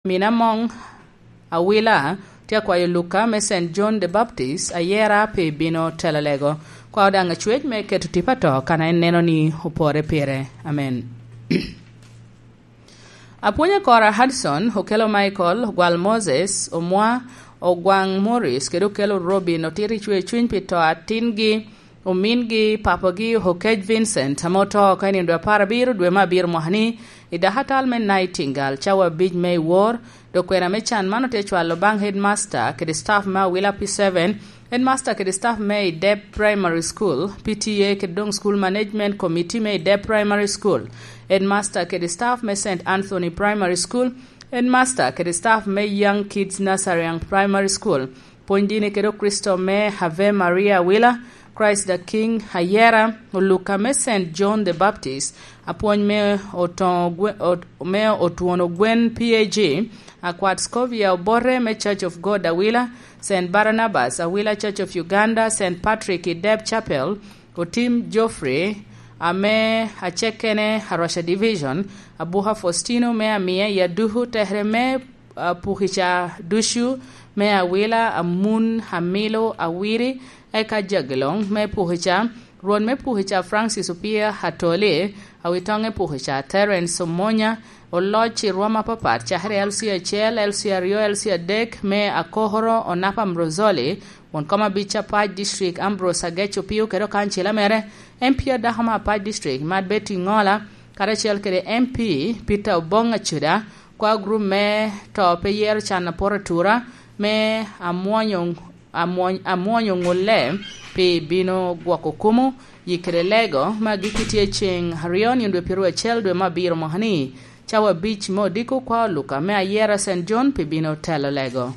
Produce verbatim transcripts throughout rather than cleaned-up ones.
Mina Mong Awila tye akwayo Luka me Saint John the Baptist ayera pi bino telo lego. Kwao daŋ acwec me keto tipo ato kan en neno ni opore pire. Amen. Apwony akora Hudson, okelo Michael, ogwal Moses, omwa, ogwaŋ Morris, kede okelo Robin, otito icwe cuny pi to atingi, omingi, papagi, Okec Vincent, ame oto oko i nino dwe apar abiro dwe me abiro mwaka-ni, i dakatal me Nightingale, cawa abic me i wor, dok kwena me can man otye cwalo baŋ headmaster kede staff me Awila P seven, headmaster kede staff me i Dep Primary School, P T A, kede doŋ School Management Committee me i Dep Primary School, headmaster kede staff me Saint Anthony Primary School, headmaster kede staff me Young Kids Nursery and Primary School, pwony dini kede Okristo me Ave Maria Awila, Christ the King Ayera, Oluka me Saint John the Baptist, apwony me Otoŋo Gwe-, Ot-, me Otwono Gwen P A G, Akwat Scovia Obote me Church of God Awila, Saint Barnabas Awila Church of Uganda, Saint Patrick i Deb Chapel, Otim Geoffrey, ame acekkene Arusha Division, Abuka Faustino me Amia i Aduku, tekere me, ah, Pukica ducu me Awila, Amun, Amilo, Awiri, eka Jagiloŋ me Pukica, Rwot me Pukica Francis Opia Atoli, Awitoŋe Pukica Terence Omonya, oloc i rwom apapat, cakere L C acel, L C aryo, L C adek, me Akokoro Onapa Ambrozoli, won kom abic Apac District Ambrose Agec Opio kede okancila mere, M P adako me Apac District Mad Betty Ŋola, karacel kede M P Peter Obong Acuda, kwa gurup me to pe yero can aporo atura, me amwonyo, amwony-, amwonyo ŋulle pi bino gwoko kumo, yikere lego, ma giki tye ceŋ aryo nino dwe pyeraryo acel dwe me abiro mwaka-ni, cawa abic me odiko kwa Oluka me ayera Saint John pi bino telo lego.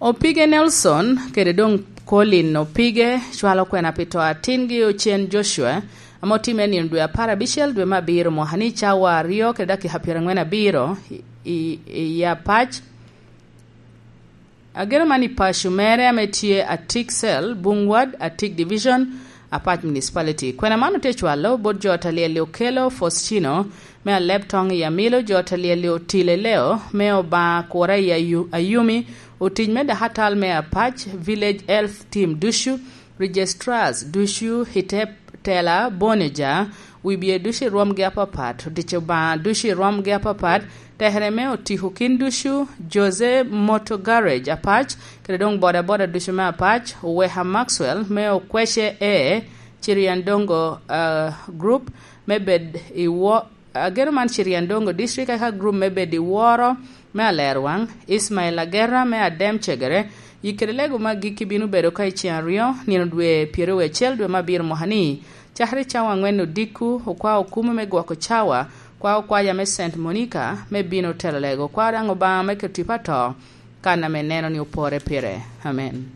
Opige Nelson kede doŋ Colin Opige cwalo kwena pi to atingi Ocen Joshua, ame otimme nino dwe apar abicel dwe me abiro mwaka-ni, cawa aryo kede dakika pyerangwen abiro i, i, i Apac. Ageno man i paco mere ame tye Atik Cell, Bungwad, Atik Division, Apac Municipality. Kwena man otye cwalo bot jo ot a lyel-li Okelo Faustino me Aleb Toŋ i Amilo, jo ot a lyel-li Otile Leo me Obaŋa Kura i Ayu-, Ayumi, otic me dakatal me Apac, Village Health Team ducu, Registrars ducu i te tela Bonija, wibye ducu i rwomgi apapat, otic Obaŋa ducu i rwomgi apapat, tekere me otiko kin ducu, Jose Motor Garage Apac, kede doŋ bodaboda ducu me Apac, Oweka Maxwell me Okwece A, Ciriandongo, ah, Group me bed i wo-, ageno man Ciriandongo District, eka group me bed i woro me Alerwaŋ, Ismail Agera me Adem Cegere, yikere lego me agikki bino bedo ka i ceŋ aryo, nino dwe pyeraryo acel dwe me abiro mwaka-ni, cakere cawa aŋwen odiko, okwa okumo me gwoko cawa, kwa okwaja me Saint Monica me bino telo lego, kwa daŋ Obaŋa me keto tipo ato, kan ame neno ni opore pire. Amen.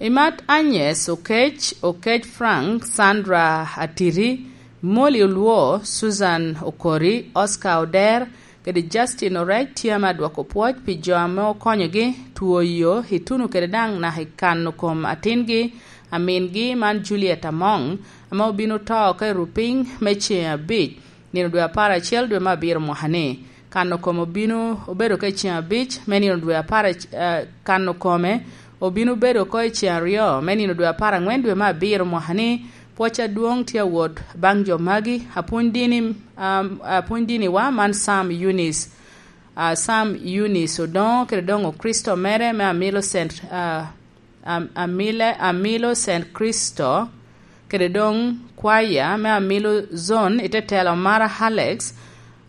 Imat Agnes Okec, Okec Frank, Sandra Atiri, Molly Olwo, Susan Okori, Oscar Oder, kede Justin Orec tye ame adwoko pwoc pi jo ame okonyogi tuoyo ituno kede daŋ naka i kano kom atingi, amingi man Juliet Among, ame obino to oko i Rupiny me ceŋ abic, nino dwe apar acel dwe me abiro mwaka-ni. Kano kom obino obedo ka i ceŋ abic me nino dwe apar ac-, eh, kano kome obino bedo oko i ceŋ aryo me nino dwe apar aŋwen dwe me abiro mwaka-ni. Pwoc adwoŋ tye awot baŋ jo magi, apwony dini, am, apwony diniwa man Sam Eunice, ah, Sam Eunice Odoŋo kede doŋ Okricito mere me Amilo Saint, ah, Am-, Amile-, Amilo Saint Cristo, kede doŋ kwaya me Amilo Zone i te telo Mara Alex,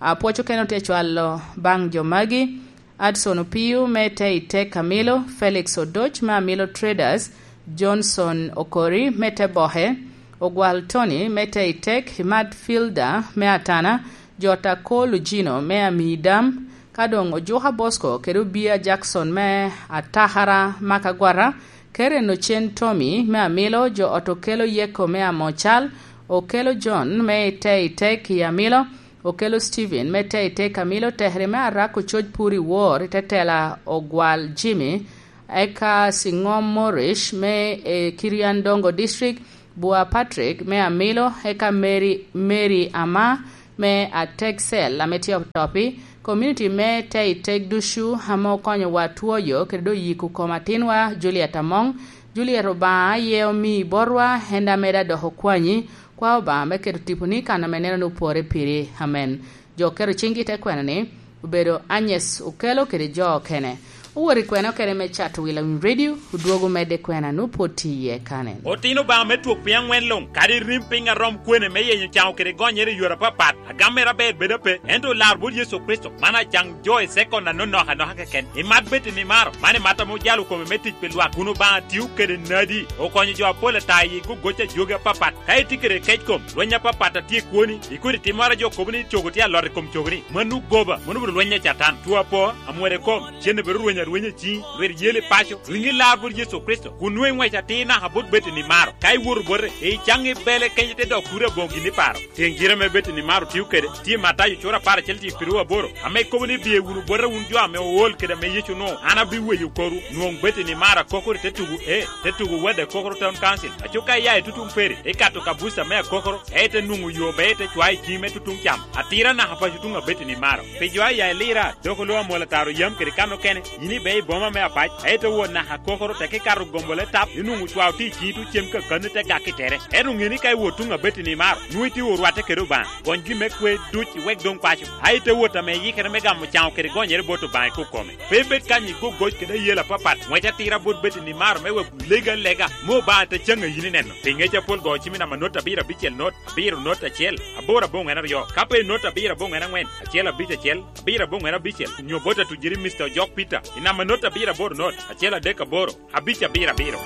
apwoc okene otye cwalo baŋ jo magi, Adson Opio me te i tek Amilo, Felix Odoc me Amilo Traders, Johnson Okori me te Bohe, Ogwal Tony me te i tek, Matilda me Atana, Jota Cole Ojino me Amidam, ka doŋ Ojuka Bosco kede Obia Jackson me Atakara Makagwata, Karen Ocen Tommy me Amilo, jo ot Okelo Yeko me Amocal, Okelo John me i te i tek i Amilo, Okelo Steven me te i tek Amilo, tekere me Arak Ococ Pur i Wor i te tela Ogwal Jimmy, eka Siŋom Morish me, eh, Kirian Dongo District, Bua Patrick me Amilo, eka Mary, Mary Ama, me Ateg Cell ame tye Otopi, community me Teitek ducu ame okonyowa twoyo kede doŋ yiko kom atinwa Juliet Among. Juliet, Obaŋa aye omi botwa, en daŋ medde adok okwanyi. Kwa Obaŋa me keto tiponi kan ame neno ni opore piri. Amen. Jo oketo ciŋgi te kwena ni, obedo Agnes Okelo kede jo okene. Owot i kwena okene me cato wila winy radio, odwogo medde kwena ni opwod tye iye kanen. Otino Obaŋa me twok piny aŋwen luŋ, kadi rim piny a rom kwene me yenyo caŋo kede gonyere i yore apapat. Agam mere aber bedo ape, ento olar bot Yecu Kricito, man acaŋ jo i sekon anonok anoka keken. Imat bed i nimaro, man imat ame ojalo kome me tic pi lwak, kun Obaŋa tio kede nadi, okonyo jo apol ata i gogoc a jogi apapat. Ka itye kede kec kom, lweny apapat a tye i kwoni, ikodi timmoro a jo kobo ni cogo tye alot i kom cogoni, mano goba, mano obedo lweny a Catan. Two apo, amwero i kom, cen obedo rweny arwenya i ciŋi, lwit yel i paco, riŋi lar bot Yecu Kricito, kun nwoŋo iŋwec atir naka bot bed i nimaro. Ka iwoto bote, icaŋ ibele kenyo te dok kuri aboŋo gin iparo. Tyeŋ cire me bed i nimaro tio kede, tye Matayo cura apar acel tye i piru aboro, ame kobo ni, "Biye wunu bota wun jo ame ool kede ame Yecu onwoŋo, an abiweyo korwu." Nwoŋ bed i nimaro akokoro i te tugo, e, te tugo wadde akokoro Town Council. Aco ka iya i tutuŋ peri, ikato kabuca me akokoro, e ite nwoŋo yo be ite cwayo i ciŋi me tutuŋ cam. Atira naka paco tuŋ abed i nimaro. Pi jo aya i Lira, dok oloo amwol ataro yam kede kan okene, yin ibe i boma me Apac, e ite wot naka akokoro, tek ikato gombo le tap, inwoŋo cwao tye i ciŋi tuŋ cem kakanni te gak i tere. Ento ŋe ni ka iwot tuŋ abed i nimaro, nwoŋo itye orwatte kede Obaŋa. Gony gin me kwe duc iwek doŋ paco. A ite wot ame iyikere me gamo caŋo kede gonyere bot Obaŋa i kokome. Pe ibed kany i gogoc kede ayela apapat, ŋwec atira bot bed i nimaro me wek legi alega, me Obaŋa te caŋ a yin ineno. Pi ŋec apol go cim i namba not abiro abicel not, abiro not acel, aboro aboŋwen aryo. Ka pe not abiro aboŋwen aŋwen, acel abic acel, abiro aboŋwen abicel, nyo bot atujiri Mister Ojok Peter, i namba not abiro aboro not, acel adek aboro, abic abiro abiro.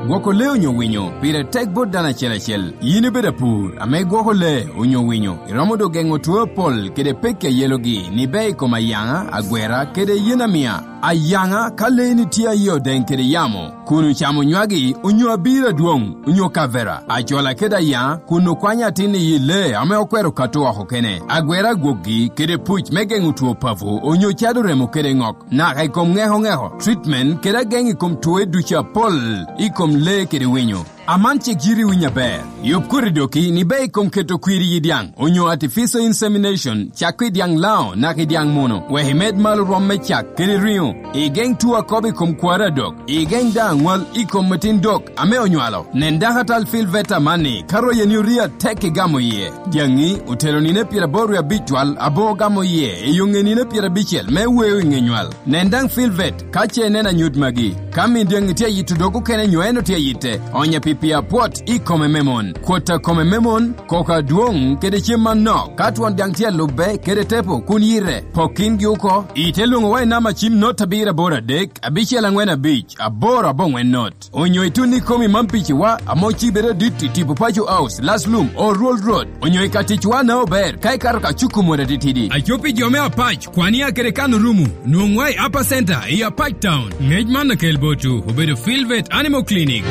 Gwoko lee onyo winyo pire tek bot dano acel acel. Yin ibedo apur ame igwoko lee onyo winyo, iromo doŋ geŋo two apol kede pekki a yelogi ni bea i kom ayaŋa, agwera, kede yen amia. Ayaŋa, ka leeni tye aye odeŋ kede yamo, kun ocamo nywagi, onyo abiro adwoŋ, onyo kavera, acola kede ayaŋa, kun okwanyo atin i yi lee ame okwero kato oko kene, agwera agwokgi, kede puc me geŋo two papo, onyo cado remo kede ŋok, naka i kom ŋeko ŋeko, treatment, kede ageŋ i kom twoe ducu apol i kom lee kede winyo. Aman cik yiti winyo aber. Yub koti doki ni bea i kom keto kwir i yi dyaŋ, onyo artificial insemination, cakko i dyaŋ lao naka i dyaŋ muno, wek imed malo rwom me cak kede riŋo, igeŋ two akobo i kom kwaro adok, igeŋ daŋ aŋwal i kom metin dok ame onywalo. Nen dakatal Phil Veta amanni, ka royeni orii atek igamo iye. Dyaŋi otelo nino pyeraboro wie abic twal aboŋo gamo iye i yo ŋe nino pyerabicel me weo i ŋe nywal. Nen daŋ Phil Vet ka ce ineno anyut magi. Ka min dyaŋi tye ayito dog okene nyo en otye ayitte, onye pi pii apwot i kome me mon, kwot a kome me mon, koko adwoŋ, kede cem manok. Ka twon dyaŋ tye alubbe kede tepo kun yite, pok kingi oko. Ite lwoŋowa i namba cim not abiro aboro adek, abicel aŋwen abic, aboro aboŋwen not. Onyo itun ikomi man piciwa, ame ocibe adit i tipo Paco House, Laslum, Old Road, onyo i ka ticwa na ober, ka ikato ka cuku mot atitidi. Aco pi jo me Apac, kwania kede kan orumo, nwoŋwa i Upper Center, i Apac Town. Ngec man akel botwu, obedo Phil Vet Animal Clinic.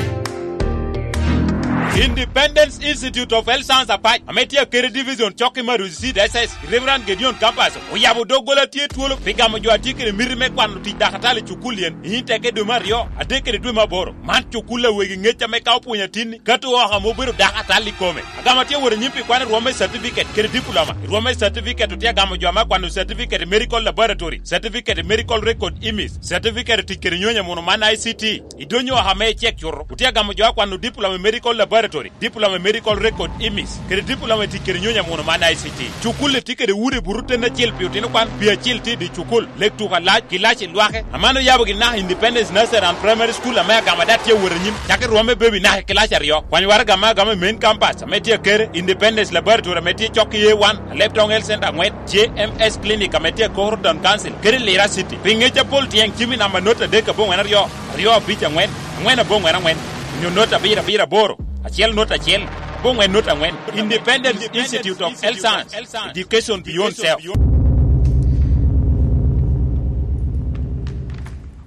Independence Institute of Health Science Apac, ame tye akede Division Cokki Maruzi Seed S S, Reverend Gideon Campus, oyabo doggola tye twolo pi gamo jo a tye kede miti me kwano tic dakatali i cukul yen, i Inteke dwe me aryo, adek kede dwe me aboro. Man cukul a wegi ŋec ame ka opwonyo atinni, kato oko ame obedo dako atal i kome. Agamo tye wot anyim pi kwano rwom me certificate kede diploma. I rwom me certificate otye agamo jo ame akwano certificate i medical laboratory, certificate i medical record image, certificate i tic kede nyonyo amuno man I C T. I donyo oko ame icek cuto, otye agamo jo akwano diploma i medical laboratory, diploma i medical record image, kede diploma i tic kede nyonyo amuno man I C T. Cukul-li tye kede udi buto ten acel pi otino kwan, pi acel tye i dye cukul, lek tuko alac, kilaci lwake. Aman oyabo gin naka Independence Nursery and Primary School ame agamo ada tye awot anyim, cakki rwom me baby naka i kilaci aryo. Kwany waraga ame agamo i main campus ame tye akere, Independence Laboratory ame tye cok i A one, Alebtong Health Center aŋwen, J M S Clinic ame tye akoro Town Council, kede Lira City. Pi ŋec apol tyeŋ cim i namba not adek aboŋwen aryo, aryo abic aŋwen, aŋwen aboŋwen aŋwen, onyo not abiro abiro aboro, acel not acel, aboŋwen not aŋwen. Independence Institute of Health Science, Education Beyond Self.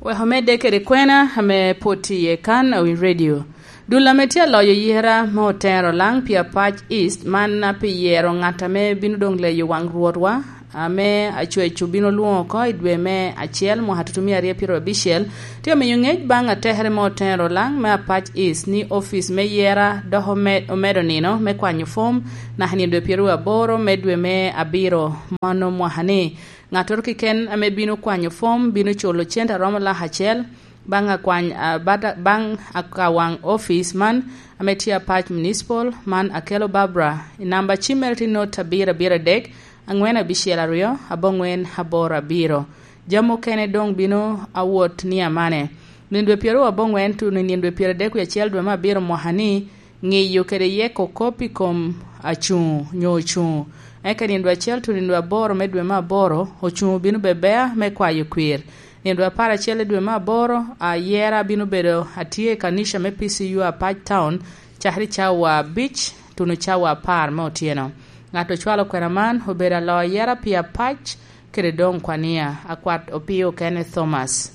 Wek omedde kede kwena ame pwod tye iye kan, Awiny Radio. Dul ame tye aloyo yera me otero laŋ pi Apac East, man pi yero ŋat ame bino doŋ leyo waŋ Rwotwa, ame acweco bino lwoŋo oko i dwe me acel mwaka tutumia aryo pyero abicel, tye omiyo ŋec baŋ atekere me Oten Rolaŋ me Apac East ni office me yera dok ome-, omedo nino me kwanyo fom naka nino dwe pyero aboro me dwe me abiro mano mwaka ni. Ŋattoro keken ame bino kwanyo fom bino culo cente a romo lak acel baŋ akwany, a, bata-, baŋ akawaŋ office man ame tye Apac Municipal, man Akello Barbara. I namba cimmere tye not abiro abiro adek, aŋwen abicel aryo, aboŋwen aboro abiro. Jami okene doŋ bino awot ni amane. Nino dwe pyero aboŋwen tuno i nino dwe pyeradek wie acel dwe me abiro mwaka ni, ŋiyo kede yeko kop i kom acuŋ nyo ocuŋ. Eka nino dwe acel tuno i nino dwe aboro me dwe me aboro, ocuŋ obino bebea me kwayo kwir. Nino dwe apar acel i dwe me aboro, ayera bino bedo atye i kanica me P C U Apac Town, cakere cawa abic tuno cawa apar me otyeno. Ŋat ocwalo kwena man obedo aloo yera pi Apac kede doŋ Kwania, akwat Opio Kenneth Thomas.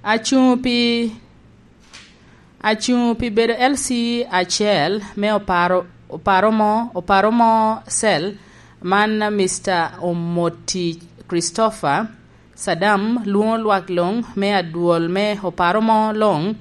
Acuŋ pi, acuŋ pi bedo L C acel me oparo, oparo mo, oparo mo cell man Mister Omoti Christopher Sadam lwoŋo lwak luŋ me adwol me oparo mo luŋ,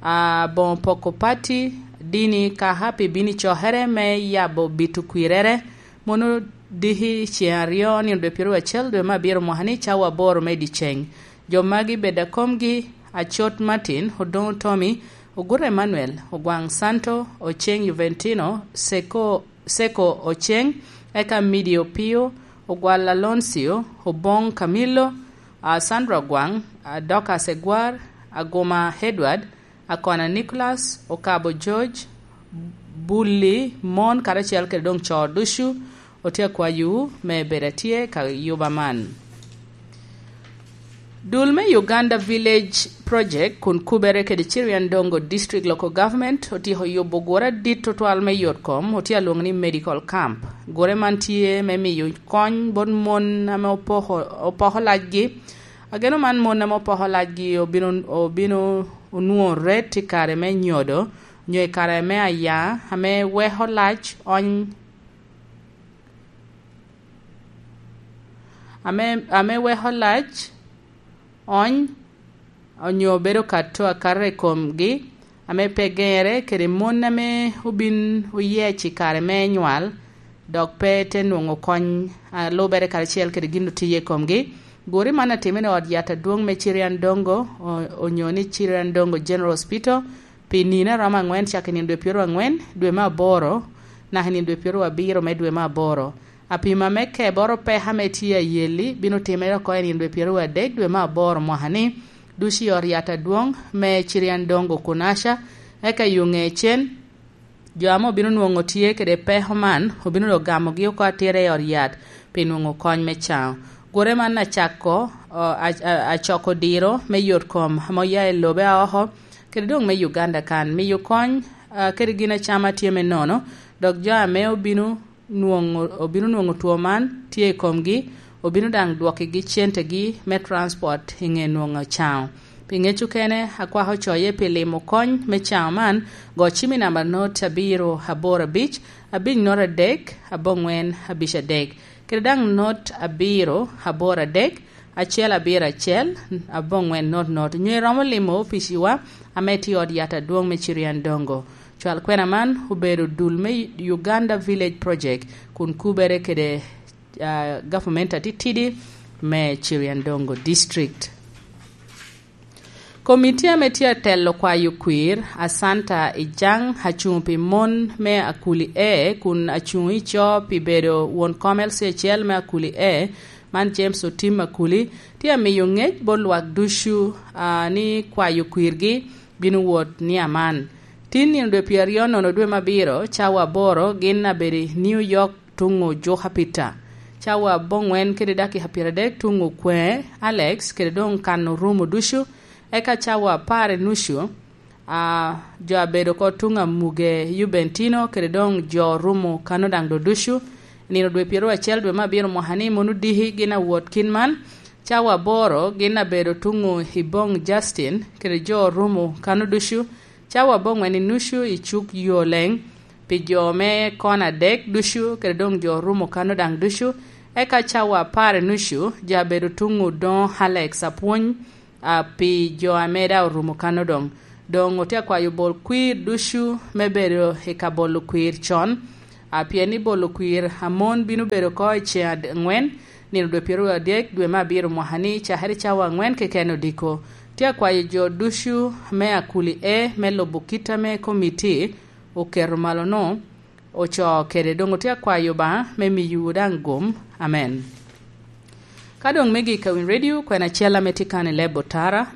a, boŋo poko pati, dini, kaka pi bino i cokere me yabo bito kwirere, mono diki ceŋ aryo nino dwe pyero acel dwe me abiro mwaka ni cawa aboro me dyeceŋ. Jo magi bed akomgi, Acot Martin, Odoŋo Tommy, Oguto Emmanuel, Ogwaŋ Santo, Oceŋ Juventino, Seko, Seko Oceŋ, eka Midi Opio, Ogwal Aloncio, Oboŋ Camillo, a, Sandra Ogwaŋ, a, Dorcas Egwar, Aguma Edward, Akona Nicholas, Okabo George, Bulli, mon karacel kede doŋ co ducu, otye akwayowu me bedo atye ka yuba man. Dul me Uganda Village Project kun kubere kede Chiriandongo District Local Government otyeko yubo gure adit tutwal me yot kom, otye alwoŋo ni medical camp. Gure man tye me miyo kony bot mon ame opoko, opoko lacgi. Ageno man mon ame opoko lacgi obino, obino onwoŋo ret i kare me nyodo, nyo i kare me aya, ame weko lac ony, ame, ame weko lac ony, onyo bedo kato akato i komgi, ame pe geŋere kede mon ame obin oyec i kare me nywal, dok pe te nwoŋo kony a lubere karacel kede gin otiye i komgi. Guri man atimere i ot yat adwoŋ me Chiriandongo, o-, onyo ni Chiriandongo General Hospital, pi nino a romo aŋwen cak i nino dwe pyero aŋwen dwe me aboro, naka i nino dwe pyero abiro me dwe me aboro. Apima me keboro peko ame tye ayeli bino timere oko i nino dwe pyero adek dwe me aboro mwaka ni, ducu i ot yat adwoŋ me Chiriandongo Kunasha, eka i oŋe cen, jo ame obino nwoŋo tye kede peko man, obino dok gamogi oko atira i ot yat pi nwoŋo kony me caŋo. Gure man acako, o, a-, a-, acoko diro me yot kom ame oya i lobe aoko, kede doŋ me Uganda kan, miyo kony, a, kede gin acama tye me nono, dok jo ame obino nwoŋo, obino nwoŋo two man tye i komgi, obino daŋ dwokigi centegi me transport i ŋe nwoŋo caŋo. Pi ŋec okene, akwako coye pi limo kony me caŋo man, go cim i namba not abiro aboro abic, abic not adek, aboŋwen abic adek, kede daŋ not abiro aboro adek, acel abiro acel, aboŋwen not not. Nyo iromo limo opiciwa ame tye i ot yat adwoŋ me Chiriandongo. Cwal kwena man obedo dul me Uganda Village Project, kun kubere kede, ah, gavumenti atitidi me Chiriandongo District. Komiti ame tye atelo kwayo kwir, Asanta Ijang, acuŋ pi mon me Akuli A, kun acuŋ i co pi bedo won kom L C acel me Akuli A, man James Otim Akuli, tye amiyo ŋec bot lwak ducu, a, ni kwayo kwirgi bino wot ni aman. Tin nino dwe pyeraryo nono dwe me abiro, cawa aboro, gin abedo i New York tuŋ ojuka Peter. Cawa aboŋwen kede dakika pyeradek tuŋ okweŋe Alex, kede doŋ kan orumo ducu. Eka cawa apar i nucu, a, jo abedo oko tuŋ amuge Jubentino, kede doŋ jo orumo kano daŋ do ducu. Nino dwe pyeraryo acel dwe me abiro mwaka ni mon odiki gin awot kin man. Cawa aboro gin abedo tuŋ i boŋ Justin, kede jo orumo kano ducu. Cawa aboŋwen i nucu i cuk yo leŋ, pi jo me kona adek ducu, kede doŋ jo Rumo Kano daŋ ducu. Eka cawa apar nucu, ja bedo tuŋ Odoŋo Alex apwony, a, pi jo ame daŋ orumo kano doŋ. Doŋ otye akwayo bol kwir ducu me bedo i ka bolo kwir con, a, pien ni bolo kwir amon bino bedo oko i ceŋ ad-, angwen, nino dwe pyeraryo adek dwe me abiro mwaka ni, cakere cawa angwen keken odiko. Tye akwayo jo ducu me Akuli E me lubo kit ame komiti oketo malo-nu, ocoo kede. Doŋ otye akwayo Obaŋa me miyowu daŋ gum. Amen. Ka doŋ me gik a Winy Radio, kwena acel ame tye kan i leb otara.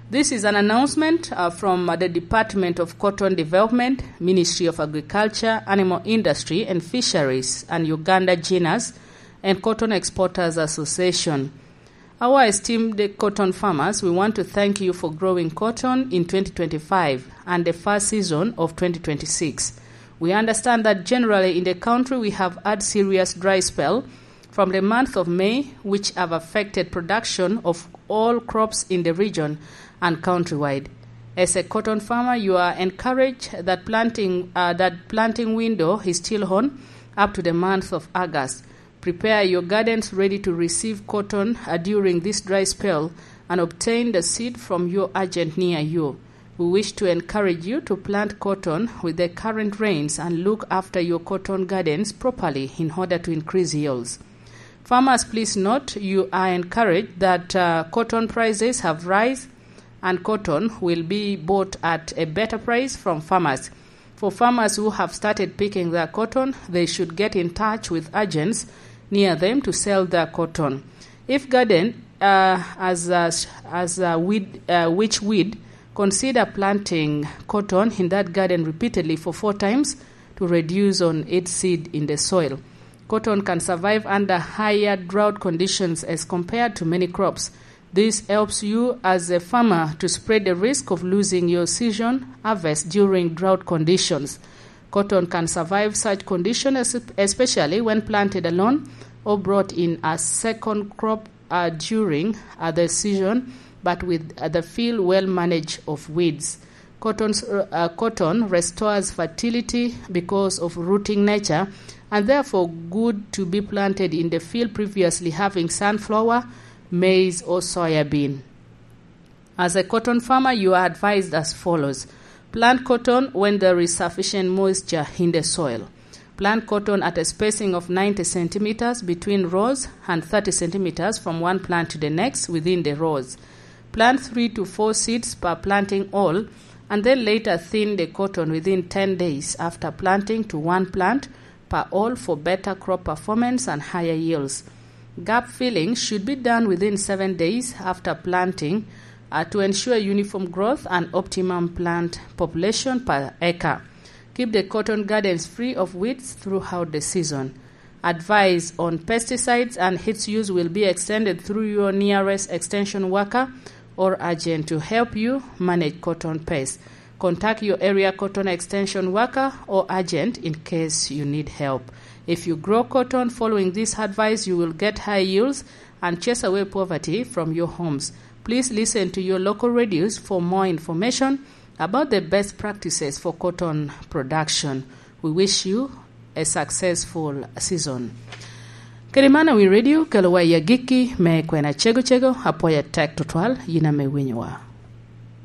This is an announcement, uh, from, uh, the Department of Cotton Development, Ministry of Agriculture, Animal Industry and Fisheries, and Uganda Ginnas and Cotton Exporters Association. Our esteemed cotton farmers, we want to thank you for growing cotton in twenty twenty-five and the first season of twenty twenty-six. We understand that generally in the country we have had serious dry spell from the month of May, which have affected production of all crops in the region and countrywide. As a cotton farmer, you are encouraged that planting, uh, that planting window is still on up to the month of August. Prepare your gardens ready to receive cotton, uh, during this dry spell and obtain the seed from your agent near you. We wish to encourage you to plant cotton with the current rains and look after your cotton gardens properly in order to increase yields. Farmers, please note, you are encouraged that, uh, cotton prices have rise and cotton will be bought at a better price from farmers. For farmers who have started picking their cotton, they should get in touch with agents near them to sell their cotton. If garden, uh, as a, as a weed, uh, which weed, consider planting cotton in that garden repeatedly for four times to reduce on its seed in the soil. Cotton can survive under higher drought conditions as compared to many crops. This helps you as a farmer to spread the risk of losing your season harvest during drought conditions. Cotton can survive such conditions, es-, especially when planted alone or brought in a second crop, uh, during, uh, the season, but with, uh, the field well managed of weeds. Cotton's, uh, uh, cotton restores fertility because of rooting nature and therefore good to be planted in the field previously having sunflower, maize or soya bean. As a cotton farmer, you are advised as follows. Plant cotton when there is sufficient moisture in the soil. Plant cotton at a spacing of ninety centimeters between rows and thirty centimeters from one plant to the next within the rows. Plant three to four seeds per planting hole, and then later thin the cotton within ten days after planting to one plant per hole for better crop performance and higher yields. Gap filling should be done within seven days after planting, uh, to ensure uniform growth and optimum plant population per acre. Keep the cotton gardens free of weeds throughout the season. Advice on pesticides and its use will be extended through your nearest extension worker or agent to help you manage cotton pests. Contact your area cotton extension worker or agent in case you need help. If you grow cotton following this advice, you will get high yields and chase away poverty from your homes. Please listen to your local radios for more information about the best practices for cotton production. We wish you a successful season. Kede man, Awiny Radio kelowa i agikki me kwena cego cego. Apwoyo atek tutwal yin ame winyowa.